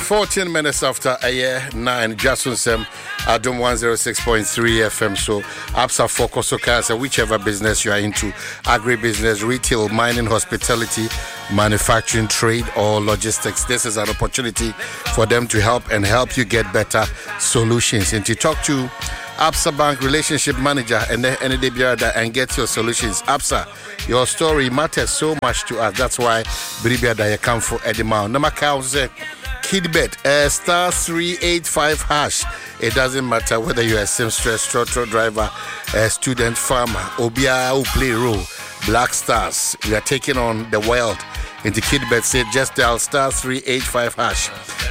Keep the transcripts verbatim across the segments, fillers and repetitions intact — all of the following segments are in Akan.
fourteen minutes after a year nine, Jason Sem, Adom one oh six point three F M. So, Absa Focus so whichever business you are into, agribusiness, retail, mining, hospitality, manufacturing, trade, or logistics, this is an opportunity for them to help and help you get better solutions. And to talk to Absa Bank relationship manager and then any day and get your solutions. Absa, your story matters so much to us. That's why Bribia da come for Edima. Number count Kidbet, uh, star three eight five hash. It doesn't matter whether you're a seamstress, trotro driver, a student, farmer, obiaa who play role. Black Stars, we are taking on the world. Into Kidbet said just dial star three eight five hash.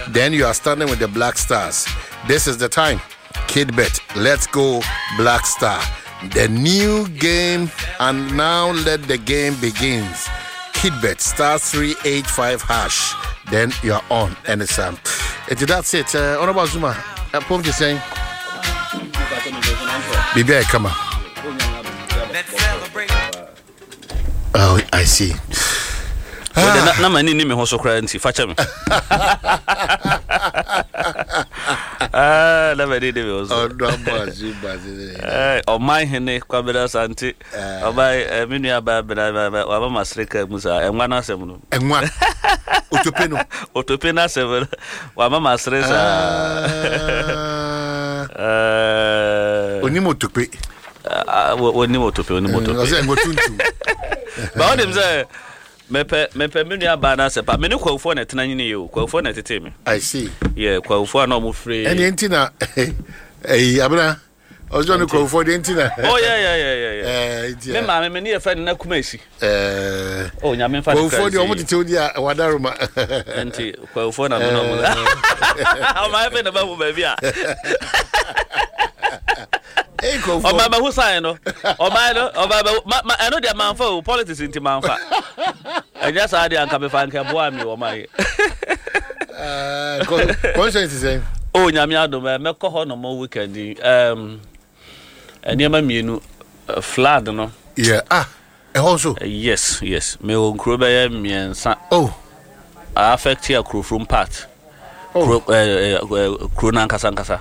Then you are standing with the Black Stars. This is the time. Kidbet, let's go, Black Star. The new game, and now let the game begins. Kidbet, star three eight five hash. Then you're on. And it's um, it, that's it. Uh, Honorable Zuma, uh, Pom just saying, Bibi, come on. Oh, I see. Ah. Na m'ani ni me ho so koraa, nti fa kyɛ me. Ah, na m'ani ni me ho so. Ɔman hene Kwabena Sante, ɔman, me nua baa bena waba ma sere ka mu saa ɛnwa no asɛm no. Ɛnwa otope no. Otope no asɛm no wama ma sere saa. Onim otope. Onim otope, onim otope. Ɔsɛ ɛnwa tuntum. Ba wonim sɛ mepɛ mepɛ me nua baa no asɛ pa me ne Kwawofoɔ na ɛtena nyini yɛ o. Kwawofoɔ na ɛtete me. I see. Yɛ Kwawofoɔ a na ɔmo firi. Ɛne nti na ɛyi abena ɔsɔ ne Kwawofoɔ deɛ nti na. Oh yeah yeah yeah yeah yeah, me maame me ne yɛ fɛ ne na kuma esi. Ɛɛ oh, Nyame nfa ne kra. Kwawofoɔ deɛ, ɔmo tete wo di a wadaroma. Nti Kwawofoɔ na me na ɔmo ɔmo ayɛ fɛ na ba mu baabi a ɔma bɛho sign no, ɔma no, ɔma bɛho ma ma ɛno deɛ manfa o. Politics nti manfa. Ɛnyɛ saa deɛ anka mefa nka boa mi wɔ ma yi. Conscience sɛn? O, Nyame adom, ɛ mɛkɔ hɔ nom weekend yi. um, nneɛma mmienu, flood no. Yeah, ah, ɛhɔ nso? yes yes mewɔ nkuro bɛyɛ mmiɛnsa. Oh. Affect Akurofurom part. Oh. Kuro ɛɛ ɛ kuro no ankasa ankasa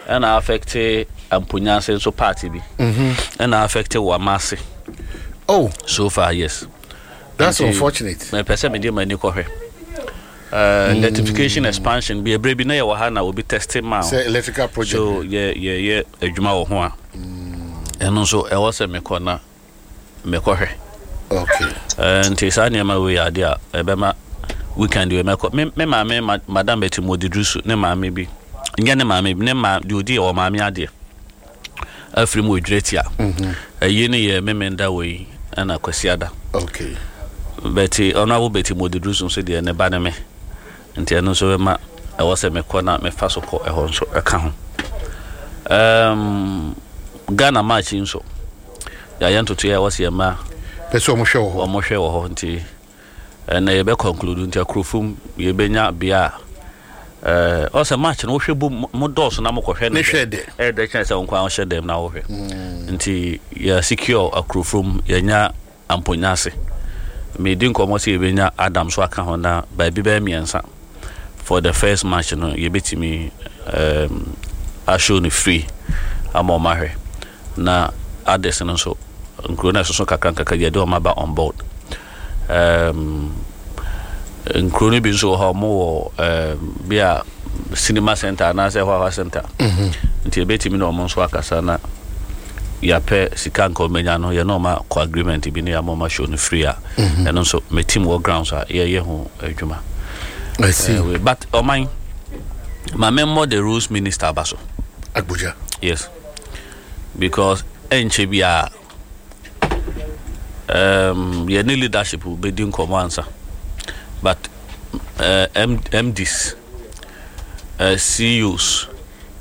ɛna affect Amponyase nso part bi, ɛna affect Wamase. Oh. So far, yes. That's unfortunate. Mepɛ sɛ mede m'ani kɔhwɛ uh, electrification expansion bi. Ebere bi na yɛwɔ ha na obi test ma sɛ electrical project. So yɛ yɛyɛ adwuma wɔ ho a, ɛno nso ɛwɔ sɛ mekɔ na mekɔhwɛ. Okay uh, nti saa nneɛma wei yɛ adeɛ a ɛbɛma weekend wei mɛkɔ. Me me maame ma, Madam Betty Modidusu ne maame bi, nyɛ ne maame bi, ne ma deɛ odi wɔ maame adeɛ afiri mu odwira tia ɛyi ne yɛ Memenda wɔ yi ɛna Kwasiada. Okay bɛti ɔno abo Betty Modidusu nso deɛ, ne ba ne me, nti ɛno nso bɛma ɛwɔ sɛ mekɔ na mefa so kɔ ɛhɔ nso ɛka ho. um, ghana match yi nso yɛayɛ ntotoeɛ a ɛwɔ sɛ yɛma pɛ sɛ ɔmo hwɛ wɔ hɔ. Ɔmo hwɛ wɔ hɔ, nti ɛnna yɛbɛ conclude. Nti Akurofom yɛbɛnya bea a ɛɛ ɔsɛ match no wohwɛ bom, mo dɔɔso na mokɔhwɛ no. Ne hwɛ dɛ. Ɛyɛ dɛ kyɛn sɛ wo nkwa wohyɛ dɛm na wohwɛ. Nti yɛ secure Akurofom, yɛnya Amponyase, medi nkɔmmɔ sɛ yɛbɛnya Adam so aka ho na baabi bɛyɛ mmiɛnsa. For the first match no, yɛbɛtumi um, ashow no free ama ɔmo ahwɛ, na others no nso, nkuro no ɛsoso kakra nkakra, yɛde ɔmo aba on board. um, nkuro no bi nso wɔ hɔ a ɔmo wɔ um, bi a cinema center anaasɛ hɔhɔ center, nti yɛbɛtumi na ɔmo nso akasa na yɛapɛ sika nka ɔmɛnya no, yɛne ɔma kɔ agreement bi ne yɛama ɔma show no free a, ɛno nso me team wɔ grounds a yɛyɛ ho adwuma. I see. uh, but ɔman ma memmɔ the Roads Minister aba so. Agbodza. Yes, because ɛnkyɛ bi a um, yɛne leadership bɛdi nkɔmmɔ ansa, but uh, M MDs, uh, C E Os.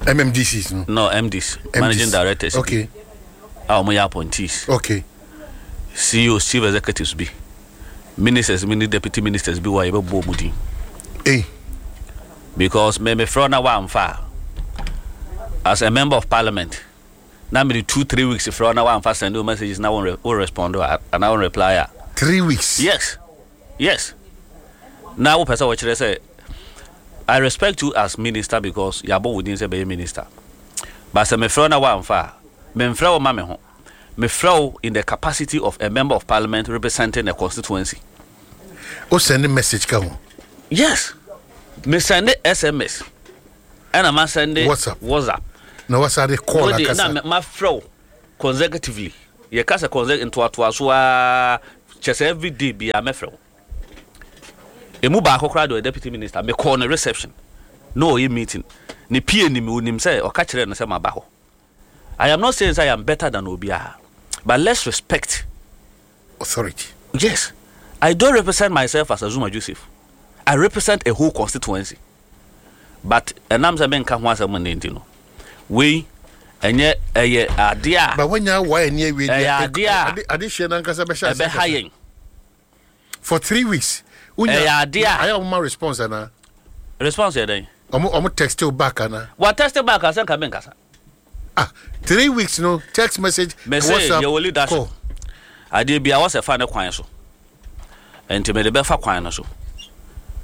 M M D Cs no? No, M Ds, managing directors bi okay a wɔn yɛ appointees, okay C E Os, chief executives bi, ministers bi ne deputy ministers bi wɔ a yɛbɛbɔ wɔn din. Hey. Because me mefrɛ na wamfa a, as a member of parliament na mede two three weeks frɛ na wamfa, send wo messages na wo wo respond a anaa wo reply a. Three weeks? yes yes na wopɛ sɛ wɔkyerɛ sɛ I respect you as minister because yɛabɔ wo din sɛ bɛyɛ minister, but sɛ mefrɛ wo na woamfa a, memfrɛ wo ma me ho. Mefrɛ wo in the capacity of a member of parliament representing a constituency. O send message ka ho? Yes, me send S M S ɛna ma send WhatsApp. WhatsApp. Na wasa de call. Wode akasa. Na mafrɛ wo consecutively. Yɛka sɛ consecutive ntoatoa so a, kyɛ sɛ everyday bia mɛfrɛ wo. Emu baako koraa de, ɔyɛ deputy minister, mekɔɔ ne reception na ɔyɛ meeting ne pie nim, onim sɛ ɔka kyerɛ no sɛ maba hɔ. I am not saying say I am better than obiara, but let's respect authority. Yes, I don't represent myself as Azuma Joseph. I represent a whole constituency, but ɛnam sɛ menka ho asɛm ne nti no, wei ɛnyɛ, ɛyɛ adeɛ a But wanya wa ani awie. Ɛyɛ adeɛ a ade ade hyɛ nankasa bɛhyɛ ase ɛbɛha akasa. Yɛn. For three weeks. Ɛyɛ adeɛ a- Ayɛ ɔmo ma response ana? Response yɛ dɛn? ɔmo ɔmo text you back ana? Wa text back asɛ nka menkasa. Ah, three weeks no text message? Mese WhatsApp, yɛwɔ leadership. Call. Adeɛ bia wɔsɛ fa ne kwan so, nti mede bɛfa kwan no so.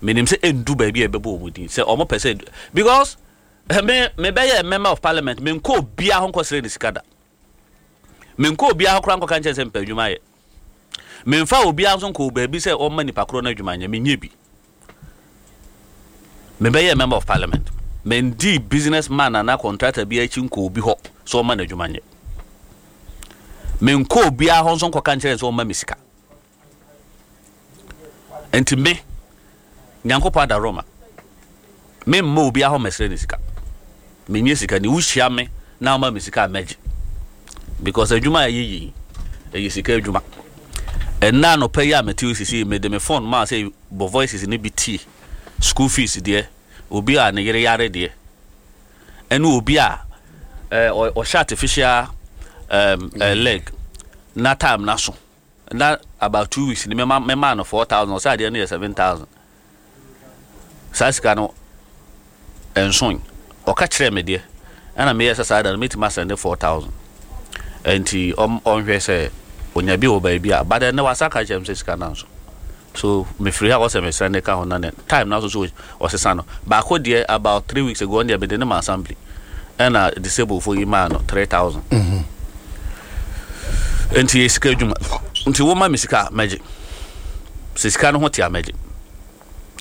Menim sɛ ɛndu baabi a ɛbɛbɔ ɔmu din sɛ ɔmo pɛ sɛ, because eh, me mebɛyɛ member of parliament, menkɔ obiaa ho nkɔsrɛ ne sika da. Menkɔ obiaa ho koraa nkɔka nkyɛn sɛ mpɛ adwuma yɛ. Memfa obiaa nso nkɔ baabi sɛ ɔmma nipa korɔ no adwuma nyɛ. Menyɛ bi. Mebɛyɛ member of parliament, mendi business man anaa contractor bi akyi nkɔ obi hɔ sɛ ɔma no adwuma nyɛ. Menkɔ obiaa hɔ nso nkɔka nkyerɛ sɛ ɔma me sika. Nti me, Nyankopɔn ada roma, memma obiaa hɔ mɛsrɛ ne sika. Menyɛ sika ne. Wohyia me na woma me sika a, mɛgye, because adwuma a ɛyɛ yi, ɛyɛ sika adwuma. Ɛnna anɔpa yi a mete wo sisi, mede me phone maa sɛ bɔ voices ne bi tie school fees deɛ, obi a ne yere yare deɛ, ɛne obi a ɛɛ ɔ- ɔhyɛ artificial um, uh, leg na time na so na about two weeks ni mɛma mɛma no four thousand, ɔsɛ adeɛ no yɛ seven thousand. Saa sika no nson ɔka kyerɛ me deɛ, ɛna meyɛ sɛ saa da no mɛtumi asɛnde four thousand, nti ɔm ɔnhwɛ sɛ onya bi wɔ baabi a. But ɛnɛ wasa ka kyerɛ me sɛ sika no nso so mefiri ha, wɔsɛ mesɛnde ka ho na ne time na so so ɔsesa no baako deɛ, about three weeks ago, ɔno deɛ mede ne ma assembly, ɛna disable fo yi maa no three thousand. Nti yɛ sika adwuma, nti woma me sika a, mɛgye. Sɛ sika no ho te a, mɛgye.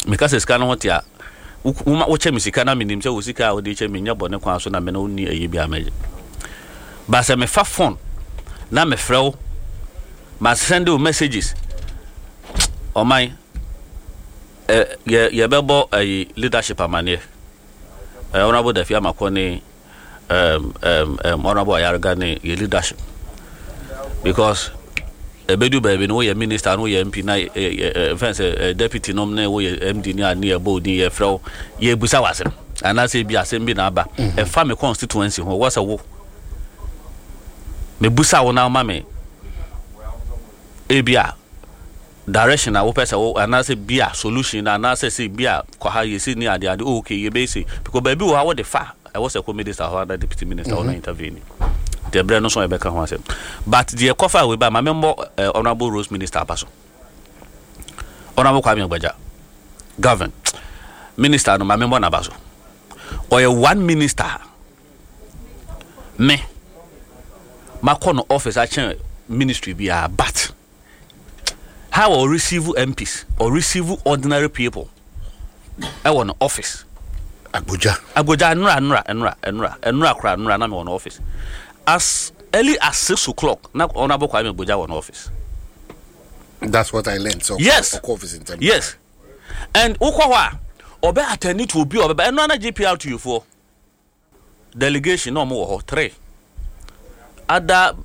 Meka sɛ sika no ho te a, wo- woma wokyɛ me sika na menim sɛ wo sika a wode kyɛ me nyɛ bɔne kwan so na me ne wonni ɛyɛ bi a, mɛgye. Ba sɛ mefa phone na mefrɛ wo, ma send wo messages, ɔman ɛ yɛ yɛbɛbɔ ɛyi leadership amanneɛ, ɛ Honourable Dafi Amakɔ ne um, um, um, Honourable Ayarga ne yɛ leadership, because ɛbɛdu baabi no, woyɛ minister no, woyɛ M P na fɛn sɛ deputy nom ne woyɛ M D ne a ne yɛbɔ odin, yɛfrɛ wo, yɛbusa w'asɛm anaasɛ bi asɛm bi na aba ɛfa me constituency ho, wɔ sɛ wo mebusa wo na woma me ebi a direction a wopɛ sɛ wo anaasɛ bi a solution anaasɛ sɛ bi a kɔ ha yɛsi ne ade ade. Oh, okay, yɛbɛyɛ sei because baabi wɔ ha wode fa ɛwɔ sɛ kɔ minister hɔ ana deputy minister hɔ na intervene. Deɛ berɛ no so yɛbɛka ho asɛm, but deɛ kɔfa wei ba ma memmɔ eh, Honorable Roads Minister aba so, Honorable Kwame Agbodza Governs minister no, ma memmɔ n'aba so. Ɔyɛ one minister me makɔ no office akyɛn ministry biara, but how ɔ receive M Ps or receive ordinary people ɛwɔ no office. Agbodza. Agbodza, nnura nnura nnura nnura nnura kora nnura na mi wɔ no office as early as six o'clock na Honourable Kwame Agbodza wɔ no office. That's what I learned, so Yes. ɔkɔ office ntɛm. Yes, and wokɔ hɔ a, ɔbɛ attend to obi a ɔbɛba. Ɛno ana G P R T U foɔ delegation na ɔmo wɔ hɔ three ada.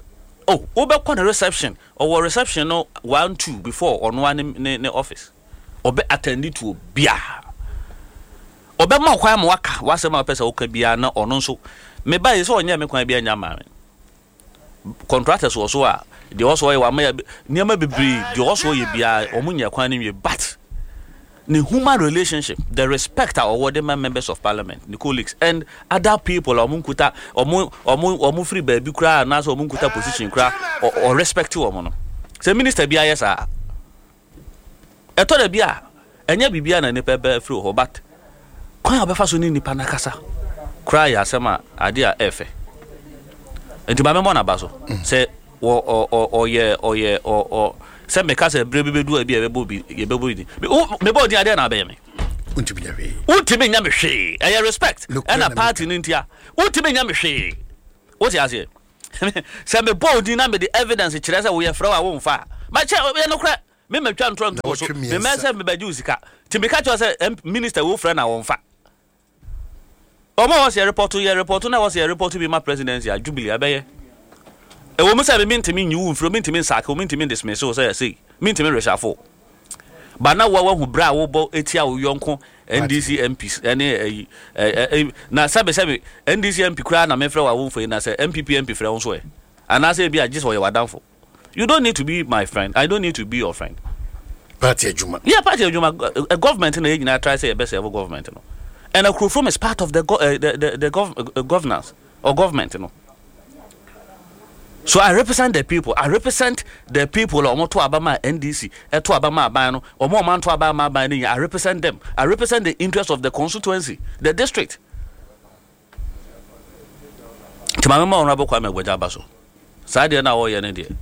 Oh, wobɛkɔ ne reception, ɔwɔ reception no one two before ɔno a ne ne ne office. Ɔbɛ attend to obiara, ɔbɛma kwan ma waka wasɛm a wopɛ sɛ woka biara, na ɔno nso meba yi sɛ ɔnyɛ me kwan bi anya maa me. Contractors wɔ so a, deɛ ɔsɔ ɔyɛ wama yɛ nneɛma bebree, deɛ ɔsɔ ɔyɛ biara ɔmo nya kwan no nwie, but ne human relationship, the respect a ɔwɔ de ma members of parliament, ne colleagues and other people a ɔmo nkuta, ɔmo ɔmo ɔmo firi baabi koraa anaasɛ ɔmo nkuta position koraa, ɔ ɔ respect wɔn no. Sɛ minister bi ayɛ saa, ɛtɔ da bi a ɛnyɛ biribiara na nipa bɛ firi hɔ, but Kwan a wɔbɛfa so ne nipa n'akasa koraa yɛ asɛm a adeɛ a ɛɛfɛ. Nti maame mmɔ n'aba so sɛ wɔ ɔ ɔ ɔyɛ ɔyɛ ɔ ɔ sɛ meka sɛ ebire bi bɛdu a bi a yɛbɛbɔ bi yɛbɛbɔ bi din. Mebɔ din adeɛ na abɛyɛ me. Wontumi nya hwee. Wontumi nya me hwee. Ɛyɛ respect. Nokorɛ na ɛna party no ntia. Wontumi nya me hwee. Wote aseɛ? Sɛ mebɔ wo din na mede evidence kyerɛ sɛ woyɛ frɛ wo a womfa a, makyɛ yɛ nokorɛ. Me matwa ntorɔ nto wo so. Na wɔtwe Memmɛ mmiɛnsa. sɛ mebɛgye wo sika. Nti meka kyerɛ wo sɛ M- minister wo frɛ na wɔmfa. Ɔmo a wɔsɛ yɛ report yɛ report na wɔsɛ yɛ report bi ma presidency a, Jubilee abɛyɛ. Ɛwɔ mu sɛ me mentumi nyi wo mfiri, mentumi nsake wo, mentumi dismiss wo sɛ sei, mentumi reshuffle. Ba na wa wahu berɛ a wobɔ etia wo yɔnko N D C M Ps ɛne ɛyi ɛ ɛ na sɛbe sɛbe N D C M P koraa na mefrɛ wo a womfa yi, na sɛ N P P M P frɛ wo nso ɛ, anaasɛ ebi a gye sɛ ɔyɛ w'adamfo. You don't need to be my friend, I don't need to be your friend. Party adwuma. Yeah, party adwuma, uh, government na yɛn nyinaa try sɛ yɛbɛ serve government no, and Akurofrom is part of the go, uh, the the, the gov, uh, governance or government no. So I represent the people. I represent the people a wɔn to aba ma N D C, ɛto aba ma aban no, wɔn a wɔn anto aba ma aban no nyinaa. I represent them. I represent the interest of the constituency, the district. Nti maame ma Honourable Kwame Agbodza aba so. Saa deɛ na wɔyɛ no deɛ,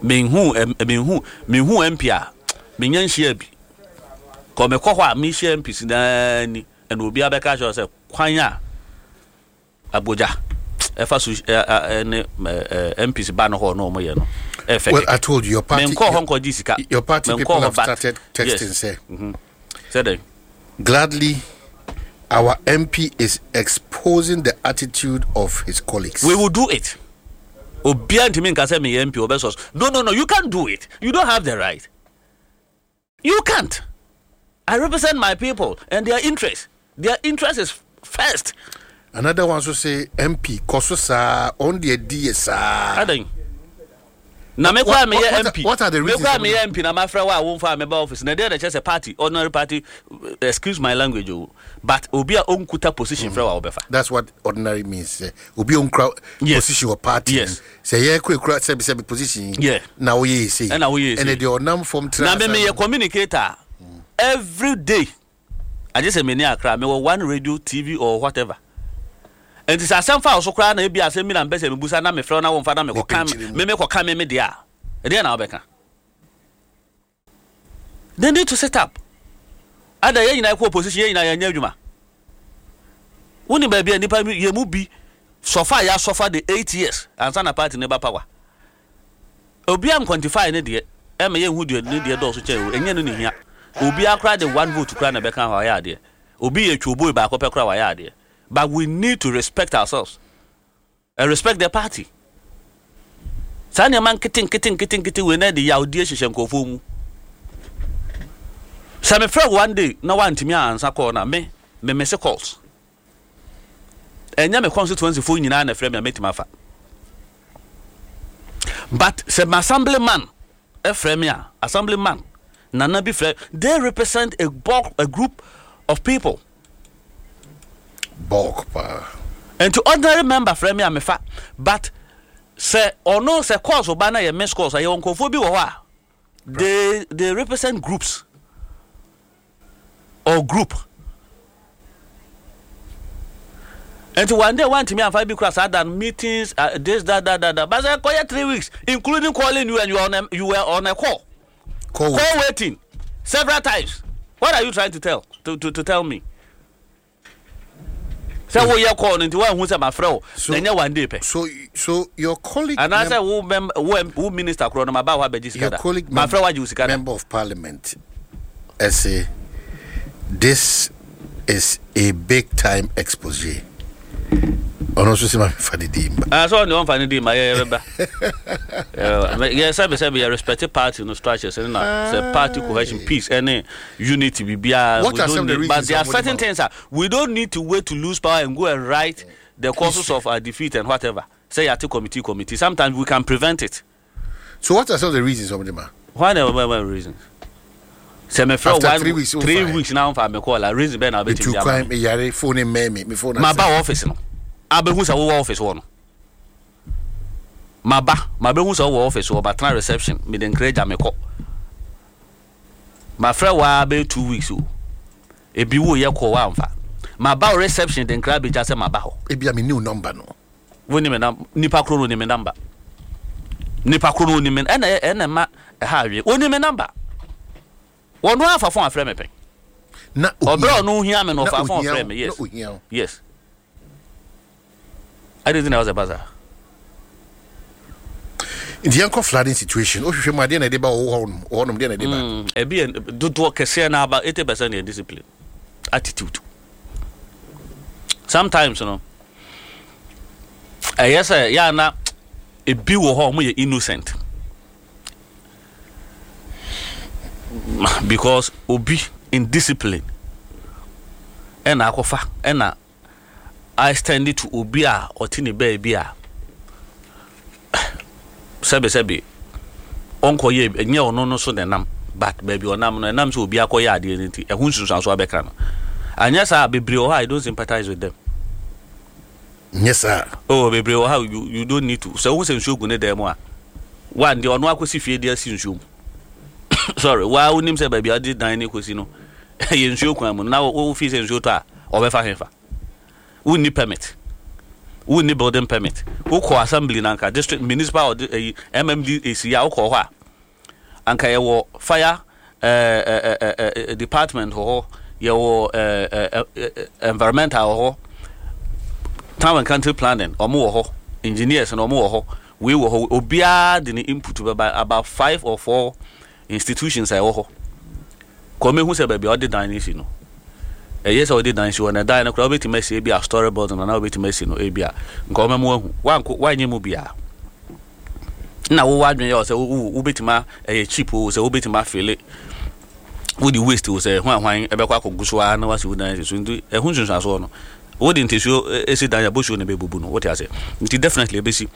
menhu ɛm menhu menhu M P a menya nhyia bi. Kɔ mekɔ hɔ a mehyia M Ps naa ni, ɛna obiara bɛka kyerɛ sɛ kwan a Agbodza ɛfa so ɛ ɛ ɛne ɛ ɛ M Ps ba no hɔ na wɔn yɛ no ɛfɛ. Well, I told you your party. Menkɔ hɔ nkɔgye sika. Your party Menkɔ people hɔ have but started texting, yes. say Sɛ dɛn? Gladly, our M P is exposing the attitude of his colleagues. We will do it. Obiara ntumi nka sɛ meyɛ M P ɔbɛsɔ so. No, no, no, you can't do it. You don't have the right. You can't. I represent my people and their interest. Their interest is first. Another one so say M P kɔ so saa on the D saa. Adan na me kora What- meyɛ what- M P. What are the Me reasons? kora meyɛ M P na mafrɛ wo a womfa a meba office na deɛ na kyerɛ sɛ party, ordinary party, excuse my language o, but obi a ɔnkuta position frɛ wo a wobɛfa. That's what ordinary means. Eh, obi onkra Yes. position or party. Yes. Sɛ yɛ kura kura sɛbi sɛbi position. Yeah. Na woyɛ ese. Ɛna woyɛ ese. Ɛna deɛ ɔnam fam tena. Na me meyɛ communicator every day, agye sɛ meni akra mewɔ one radio, T V or whatever. Nti sɛ asɛm fa wo so koraa na ebi asɛm bi na mpɛ sɛ mebusa na mefrɛ wo na womfa na mekɔka Mepɛnkyere mu. me mekɔka me me deɛ a, ɛdeɛ na wobɛka. They need to sit up. Ada yɛn nyinaa kɔ opposition, yɛn nyinaa yɛnyɛ adwuma. Wonim baabi a nipa bi yɛ mu bi sɔfa a yɛasɔfa de eight years ansa na party ne ba power. Obiara nquantify ne deɛ ɛma yɛnhu deɛ ne deɛ dɔɔso kyɛn o. Ɛnyɛ no ne hia. Obiara koraa de one vote koraa na ɛbɛka hɔ ayɛ adeɛ. Obi yɛ twoboy baako pɛ koraa wayɛ adeɛ, but we need to respect ourselves and respect the party. Saa nneɛma nkete nkete nkete nkete wei na de yawdie hyehyɛ nkurɔfoɔ mu. Sɛ mefrɛ wo one day na woantumi ansa call na me me miss calls, ɛnyɛ me constituency foɔ nyinaa na ɛfrɛ me a mɛtumi afa, but sɛ me assemblyman ɛfrɛ me a, assemblyman nana bi frɛ, they represent a bulk, a group of people. Bulk paa. Nti ordinary member frɛ me a mefa, but sɛ ɔno sɛ calls ba na yɛ miss calls a, yɛwɔ nkurɔfoɔ bi wɔ hɔ a they they represent groups or group. Nti one day wantumi anfa bi kura saa dan meetings, uh, this, that, that, that, that, but sɛ kɔyɛ three weeks including calling you and you are on a, you were on a call. Call. Call waiting several times. What are you trying to tell to to, to tell me? Sɛ woyɛ call no nti woanhu sɛ mafrɛ wo So- na ɛnyɛ one day pɛ. So so your colleague Anaasɛ wo mem wo M- wo minister korɔ no maba hɔ abɛgye sika your da colleague mafrɛ woagye wo sika da. member of parliament ɛsɛ this is a big time expose. Ɔno nso sɛ ma mefa ne din ba. Ah, sɛ ɔne ɔmfa ne din ma yɛ yɛbɛba yɛ sɛbe sɛbe yɛ respect party no structures ɛne na sɛ party cohesion, peace ɛne unity biribiara. What We are don't some of the need, but reasons there are a wɔde certain ma- things that we don't need to wait to lose power and go and write the causes of our defeat and whatever. Say yɛate committee committee, sometimes we can prevent it. So what are some of the reasons ɔmde ma? Why the why, why reasons sɛ mefrɛ After one three weeks, three womfa. weeks na womfa me call a, reason bɛn na wobɛtumi metu de ama kwan, me? meyare, phone mmɛn me me phone Maba asɛ. wɔ office no abɛhu sɛ wowɔ office hɔ no, maba mabɛhu sɛ wowɔ office hɔ, batena reception, mede nkra gya mekɔ. Mafrɛ waa bɛyɛ two weeks o. Ebi wo yɛ kɔ wamfa maba wo reception de nkra bɛgya sɛ maba hɔ. Ebia me new number no. Wo ni me nam nipa koro no ni me number, nipa koro no ni me, ɛna ɛna ma ɛha awie, oni me number, wɔn no afa phone afrɛ me pɛn. Na ɔbrɛ ɔno hia me no, ɔfa phone ohia frɛ wo, me, yes. Na ohia wo. Yes, adi ti na ɔsɛ basa. Nti yɛnkɔ flooding situation. Wohwehwɛ mu adeɛ na ɛde ba wɔ hɔnom hɔnom deɛ na ɛde ba. Mm, ebi yɛ dodoɔ kɛseɛ na aba eighty percent yɛ discipline, attitude. Sometimes no, ɛyɛ sɛ yɛ ana ebi wɔ hɔ a wɔn yɛ innocent because obi indiscipline ɛna akɔfa ɛna I extend it to obi a ɔte ne baabi a sɛbisɛbi ɔnkɔyɛ, ɛnyɛ ɔno no so na ɛnam, but baabi ɔnam no ɛnam sɛ obi akɔyɛ adeɛ no nti ɛho nsunsuanso abɛka no. Anyɛ saa, bebree wɔ hɔ a I don't sympathize with them. Nyɛ saa. Oh, bebree wɔ ha, you you don't need to sɛ wohu sɛ nsuo gu ne dan mu a, one deɛ ɔno akɔsi fie de asi nsuo mu, sorry, waa wonim sɛ baabi a ɔde dan ne kɔsi no yɛ nsuo kwan mu na wo fi sɛ nsuo tɔ a ɔbɛfa hefa? Wonni permit, wonni building permit. Wokɔ assembly na anka district, municipal, ɔde ɛyi M M D C a wokɔ hɔ a, anka yɛwɔ fire ɛɛ ɛɛ ɛɛ department wɔ hɔ, yɛwɔ ɛɛ ɛɛ environmental wɔ hɔ, town and country planning ɔmo wɔ hɔ, engineers na ɔmo wɔ hɔ, wei wɔ hɔ, obiara de ne input bɛba. About five or four institutions a ɛwɔ hɔ kɔn mehu sɛ baabi a ɔde dan no si no, ɛyɛ sɛ ɔde dan si hɔ na dan no koraa wobɛtumi asi ebi a story building na wobɛtumi asi no ebi a nka ɔma mu ahu wanko wanyɛ mu biara na wowɔ adwene yɛ sɛ wo wobɛtumi a ɛyɛ cheap o, sɛ wobɛtumi afele wode waste o, sɛ hwan hwan ɛbɛkɔ akɔgu so ara na wasi wo dan si so. Nti ɛho nsunsuansoɔ no, wode ntɛsuo esi dan a bosuo na ɛbɛbubu no, wote ase? Nti definitely ɛbɛsi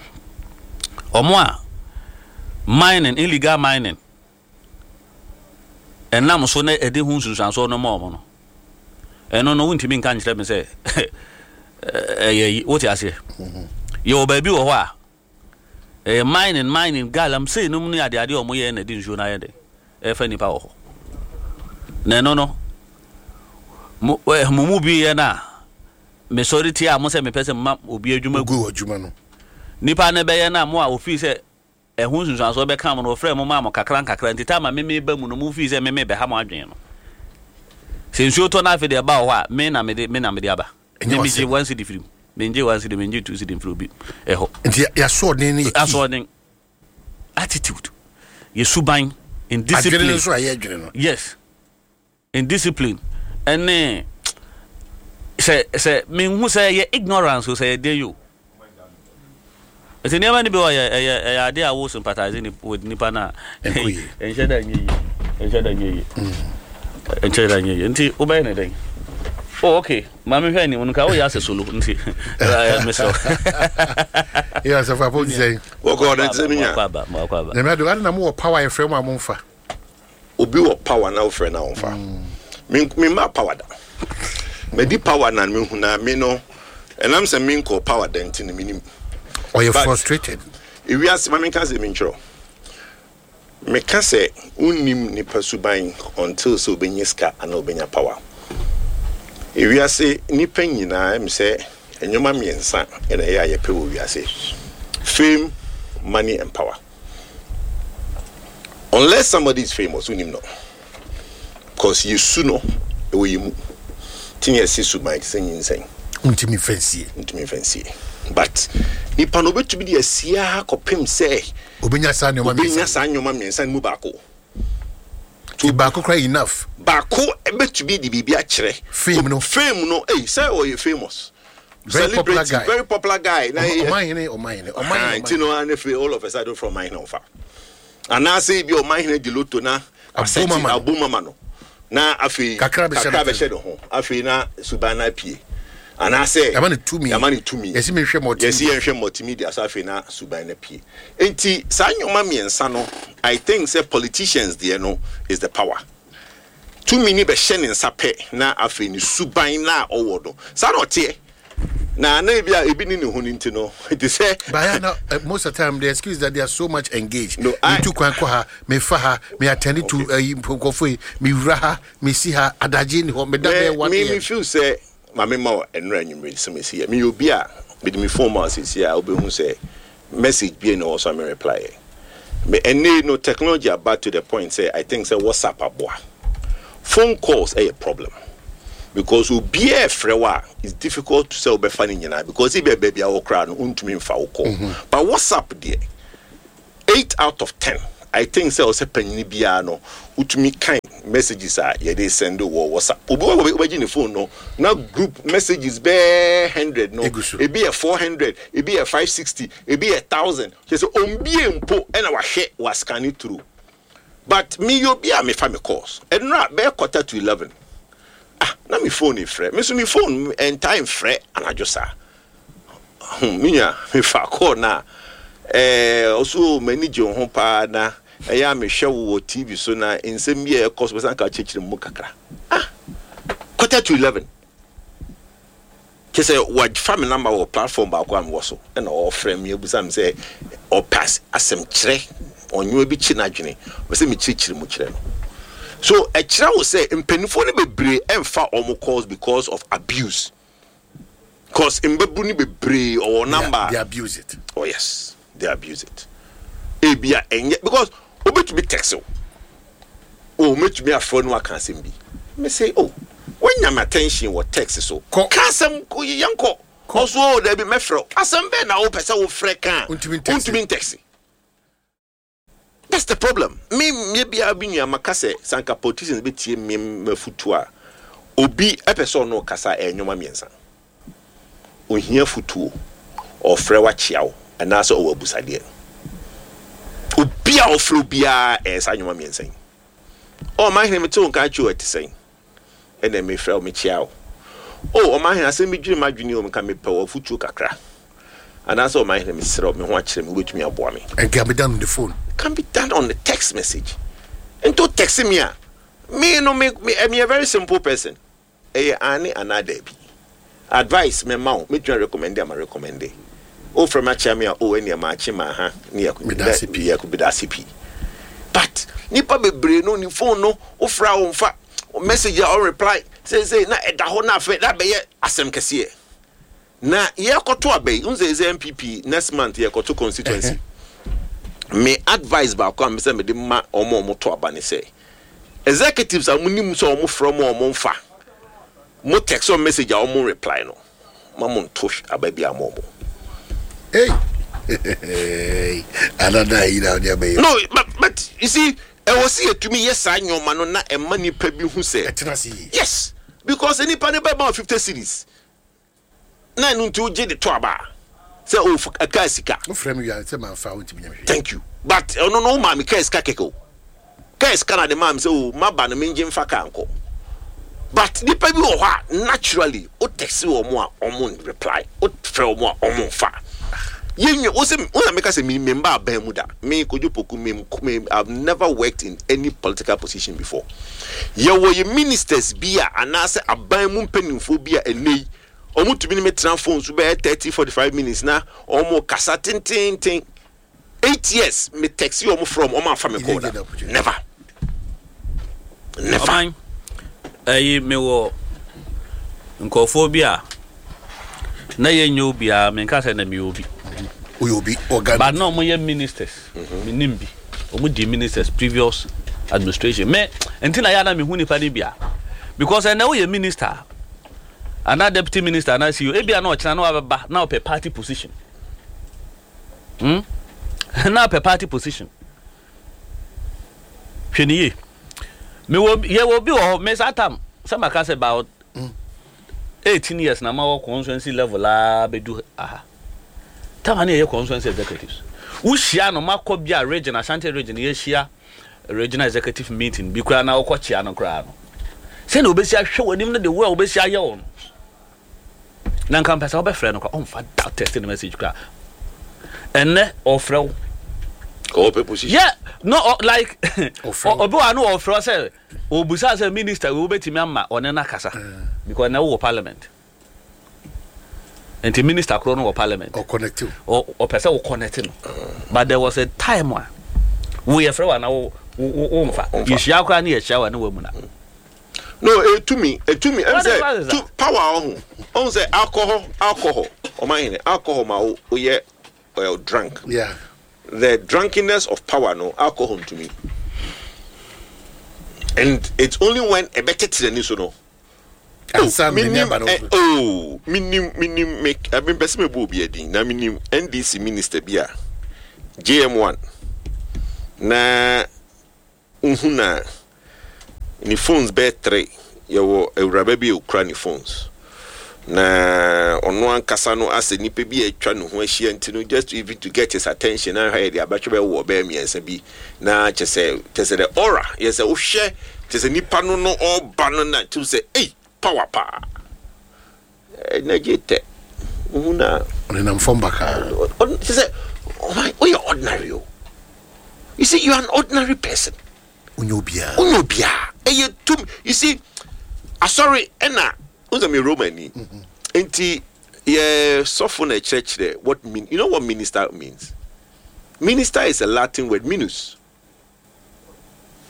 ɔmo a mining, illegal mining ɛnam so na ɛde ho nsunsuansoɔ no ma ɔmo no. Ɛno no wontumi nka nkyerɛ me sɛ ɛyɛ yi, wote aseɛ? Yɛwɔ baabi wɔ hɔ a ɛyɛ mining mining galamsey nom ne adeade a ɔmo yɛ na ɛde nsuo no ayɛ de ɛfɛ nipa wɔ hɔ. Na ɛno no mo ɛ mo mu bi yɛ na mesɔre tie a mo sɛ mepɛ sɛ mma obi adwuma gu. Ogu adwuma no. Nipa ne bɛyɛ na mo a ofii sɛ ɛho nsunsuansoɔ bɛka mo no, wɔfrɛ mo maa mo kakra nkakra. Nti taama meme ba mu no, mo fii sɛ meme bɛha mo adwene no sɛ nsuo tɔ no, afei deɛ ɛba wɔ hɔ a, me na mede me na mede aba. Ɛnyɛ me megye w'asɛm. One cedi firi mu, mengye one cedi, mengye two cedi mfiri obi ɛhɔ. Nti yɛasoɔden no yɛ key. Asoɔden, attitude, yɛ suban, Adwene no indiscipline. Nso a yɛ adwene no. Yes, indiscipline ɛne sɛ sɛ menhu sɛ yɛ ignorance o, sɛ yɛ den yi o. Nti nneɛma no bi wɔ yɛ ɛyɛ ɛyɛ adeɛ a wo sympathize ni with nipa na Ɛnkɔ yie. Ɛnhyɛ da nyɛ yie, ɛnhyɛ da nyɛ yie, ɛnhyɛ da nyɛ yie. Nti wobɛyɛ ne dɛn? Oh, okay, maame, hwɛ anim no ka woyɛ asɛ solo nti ɛɛ mesrɛ. Yɛ asafo apɔ ti sɛ Wɔkɔ ɔde sɛ menya. Wakɔ aba, wakɔ aba. Nyame ado ade na mowɔ power, yɛfrɛ mu a momfa. Obi wɔ power na wofrɛ na wɔmfa. Memma power da madi power na mehu na me no ɛnam sɛ menkɔ power da nti no menim. Ɔyɛ But- frustrated. Ewiase ma menka sɛ mentwerɛ meka sɛ wonnim nipa suban until sɛ wobɛnya sika anaa wobɛnya power. Ewiase nipa nyinaa ɛm sɛ nneɛma mmiɛnsa ɛna ɛyɛ a yɛpɛ wɔ wiase: fame, money and power. Unless somebody is famous, wonim no, because yɛsu no ɛwɔ yɛ mu nti ne yɛse suban te sɛ nyinsɛn. Wontumi mfa nsie. Ntumi mfa nsie, but nipa no obɛtumi de asiaa kɔpem sɛ obɛnya saa nneɔma obɛnya mmiɛnsa. Saa nneɛma mmiɛnsa no mu baako. Nti baako kora enough. Baako bɛtumi de biribi akyerɛ. Fame no. Fame no, ei, sɛ ɔyɛ famous Very popular celebrity, guy. Very popular guy na ɔmanhene, ɔmanhene, Ah, ɔmanhene. nti no ane fei all of a sudden from ɔmanhene ɔfa anaasɛ bi ɔmanhene di lotto na Abom ama no. Abom ama no na afei Kakra bɛhyɛ kakra ne bɛhyɛ ne ho, afei na suban no apue anaasɛ yɛama no tumi. Yɛama no tumi. Yɛsi mehwɛ multimedia. Yɛsi yɛnhwɛ multimedia so, afei na suban no apue. Nti saa nneɛma mmiɛnsa no, I think sɛ politicians deɛ no is the power. Tumi ni bɛhyɛ ne nsa pɛ na afei ne suban na ɔwɔ no saa na ɔteɛ. Na na ebi a ebi ni ne ho ne nti no te sɛ. But yeah, now, uh, most of the time the excuse that they are so much engaged. No, I me tu kwan kɔ ha, me fa ha, me attend to nkɔfo yi, me wura ha, me si ha, adagye ni hɔ, me da bɛyɛ one me me a.m. feel sɛ maame ma wɔ ɛnura anwummerɛ sɛ mesi yɛ meyɛ obi a mede me phone ma wo sɛsi a wobɛhu sɛ message bi na ɔwɔ so a me reply yɛ me. Ɛnɛ no technology aba to the point sɛ I think sɛ WhatsApp aboa. Phone calls ɛyɛ problem because obiara frɛ wo a, it's difficult to sɛ wobɛfa no nyinaa because ebi a baabi a wɔkora no wontumi mfa wo call. But WhatsApp deɛ, eight out of ten, I think sɛ ɔsɛ panyini biara no wotumi kan messages a yɛde send wɔ WhatsApp. Obi wɔ wobɛgye ne phone no na group messages bɛɛ hundred no. Egu so. Ebi yɛ four hundred, ebi yɛ five sixty, ebi yɛ thousand. Kyerɛ sɛ ombie mpo ɛna wahwɛ wa scan it through. But me yɛ obi a mefa me calls. Ɛnura bɛyɛ quarter to eleven, ah, na me phone frɛ me so. Me phone ɛntaa mfrɛ anadwo saa. hmm me nua, mefa call na ɛɛ ɔso m'ani gye wo ho paa na ɛyɛ a mehwɛ wo wɔ T V so na nsɛm bi a ɛkɔ so bɛsan ka kyerɛkyerɛ mu kakra. Ah, quarter to eleven, kyɛ sɛ wafa me number wɔ platform baako a mewɔ so ɛna ɔfrɛ me abusa me sɛ ɔpɛ as- asɛm kyerɛ ɔnwoa bi kyi n'adwene, ɔpɛ sɛ mekyerɛkyerɛ mu kyerɛ no. So ɛkyerɛ wo sɛ mpanimfoɔ no bebree ɛmfa ɔmo calls because of abuse, cause mbɛbu no bebree ɔwɔ number. They abuse it. Oh yes, they abuse it. Ebia ɛnyɛ because obetumi text o, o obetumi afrɛ no aka asɛm bi. Me say, oh, wonya my attention wɔ text so. Kɔ. Ka asɛm ko yɛnkɔ. Ɔso o dabi, mɛfrɛ wo. Asɛm bɛɛ na wopɛ sɛ wofrɛ ka a Wontumi ntext. Wontumi ntext. That's the problem. Me me bia bi nua maka sɛ sanka politicians bɛtie me mafutu a, obi ɛpɛ sɛ ɔno kasa, ɛyɛ nnwoma mmiɛnsa: ohia futuo, ɔfrɛ wakyia wo, anaasɛ ɔwɔ abusadeɛ. Obi a ɔfrɛ obiara ɛyɛ saa nnwoma mmiɛnsa yi. Ɔ ɔma hene mete wo nka akyi o, ɛte sɛn? Ɛna mefrɛ wo mekyia wo. O ɔma hene, asɛm bi dwiri m'adwene o, meka mepɛ wɔ afutuo kakra, anaasɛ ɔma hene mesrɛ wo, me ho akyerɛ me, wobɛtumi aboa me. And can be done on the phone. Can be done on the text message. Nto text me a, me no me me I'm a very simple person. Ɛyɛ ane anaa daabi. Advice me ma wo, metumi recommend ama recommend. O frɛ me akyia me a, o ɛnea maakye ma ha ne yɛ Meda ase pii. Yɛ meda ase pii. But nipa bebree no ne phone no, wofrɛ a wɔmfa message a ɔn reply seesei na ɛda hɔ na afei na bɛyɛ asɛm kɛseɛ. Na yɛkɔto aba yi, n sɛ sɛ N P P next month yɛkɔto constituency. Me advice baako a mesɛ mede ma ɔmo a ɔmo to aba ne sɛ executives a mo nim sɛ ɔmo frɛ mo a ɔmo mfa mo text or message a ɔmo reply no, ma mo nto aba bi ama ɔmo. Hey, another yi na ɔde abɛyɛ. No, but but you see, ɛwɔ sɛ yɛtumi yɛ saa nneɛma no na ɛma nipa bi hu sɛ ɛtena se yie. Yes, because nipa ne bɛma wo fifty cedis na ɛno nti wogye de to aba a, sɛ o ɛka sika. Wofrɛ me wia sɛ mamfa, wontumi nyɛ me hwee. Thank you. But ɔno no wo maame kaa sika kɛkɛ o, kaa sika na de maa me sɛ o maba no mengye mfa kaa nkɔ. But nipa bi wɔ hɔ a naturally o text wɔ mo a ɔmo reply, o frɛ wɔn a ɔmo nfa. Yɛnwa wo sɛ wo na meka sɛ me memba aban mu da. Me Kojo Poku, me me I've never worked in any political position before. Yɛwɔ yɛ ministers bi a anaasɛ aban mu mpanimfoɔ bi a ɛnɛ yi ɔmo tumi ne me tena phone so bɛyɛ thirty forty five minutes na ɔmo kasa tententen. Eight years me text ɔmo from, ɔmo afa me You call didn't da. get the opportunity. Never, never. Ɔman ɛyi, mewɔ nkurɔfoɔ bi a na yɛnyɛ obiara, menka sɛ na meyɛ obi. Woyɛ obi organ. But na ɔmo yɛ ministers, menim bi ɔmo di ministers previous administration. Me nti na yɛ ana mehu nipa no bia because ɛnɛ woyɛ minister anaa deputy minister anaa C E O, ebia na ɔkyena na wabɛba na ɔpɛ party position, hmm? Na ɔpɛ party position. Hwɛ ne yie, mewɔ yɛwɔ bi wɔ hɔ. Me saa tam sɛ maka sɛ about eighteen years na ma wɔ constituency level a bɛdu aha tam a ne yɛyɛ constituency executives. Wohyia no makɔ bi a region, Ashanti Region, yɛhyia regional executive meeting bi koraa na wokɔ kyia no koraa no, sɛnea wobɛsi ahwɛ w'anim no, de wo a wobɛsi ayɛ wo no, na nka mpɛ sɛ wobɛfrɛ no koraa ɔmfa da text ne message koraa. Ɛnnɛ ɔfrɛ wo. Ɔpɛ position. Yeah, no, ɔ, like Ɔfrɛ wo. obi wa no ɔfrɛ wo sɛ obusa sɛ minister wei wobɛtumi ama ɔne no akasa because ɛnɛ wowɔ parliament. Nti minister korɔ no wɔ parliament. Ɔconnect. Ɔpɛ sɛ wo connect no, but there was a time a wo yɛfrɛ wa na wo wo wo nfa yɛhyia koraa ne yɛhyia wa ne wa mu na. No, etumi etumi ɛm sɛ tu power ɔho ɔho sɛ alcohol alcohol ɔman hene alcohol ma wo oyɛ uh, drunk. Yeah. The drunkenness of power no alcohol ntumi, and it's only when ɛbɛtete n'ani so no. Ansa na Minim n'ani aba no eh, so. Oh, minim minim me abi mpɛ sɛ mebɔ obi adin na minim N D C minister bi a J M one na nhu na ne phones bɛyɛ three. Yɛwɔ awuraba bi a okura ne phones na ɔno ankasa no asɛ nipa bi a atwa ne ho ahyia, nti no just to even to get his attention na ahwɛ yɛde abatwɛ bɛwɔ bɛyɛ mmiɛnsa bi na kyɛ sɛ kyɛ sɛ the aura yɛ sɛ wohwɛ kyɛ sɛ nipa no no ɔba no na kyerɛ sɛ ei, power paa na gye tɛ wohu na ɔnenam fam bakaa. Kyɛ sɛ ɔman woyɛ ordinary o. You see, you are an ordinary person. Wonyɛ obiara. Wonyɛ obiara. Ɛyɛ tum, you see, asɔre ɛna wo sɛ me Romani nti yɛ sɔfo na ɛkyerɛkyerɛ what mean. You know what minister means? Minister is a Latin word, minus,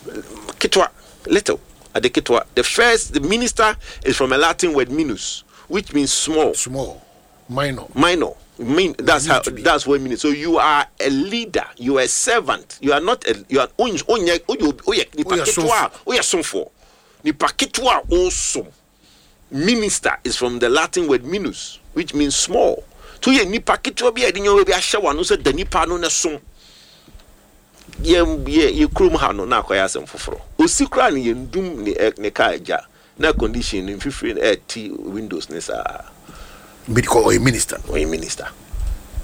ketewa, little, ade ketewa. The first, the minister is from a Latin word minus, which means small. Small, minor. Minor mean, that's how to be. That's what it means. So you are a leader, you are a servant, you are not a, you are onye onye oyɛ nipa Woyɛ ketewa a oyɛ somfoɔ, nipa ketewa a ɔsom. Minister is from the Latin word minus, which means small. So yɛ nipa ketewa bi a yɛde nneɛma bi ahyɛ wɔn ano sɛ da nipa no ne som. Yɛ yɛ yɛ kurom ha no na akɔyɛ asɛm foforɔ. Osi koraa ne yɛn dum ne ɛ ne kaa agya na condition ne mfifiri no ɛɛti windows ne saa. Because ɔyɛ minister. Ɔyɛ minister.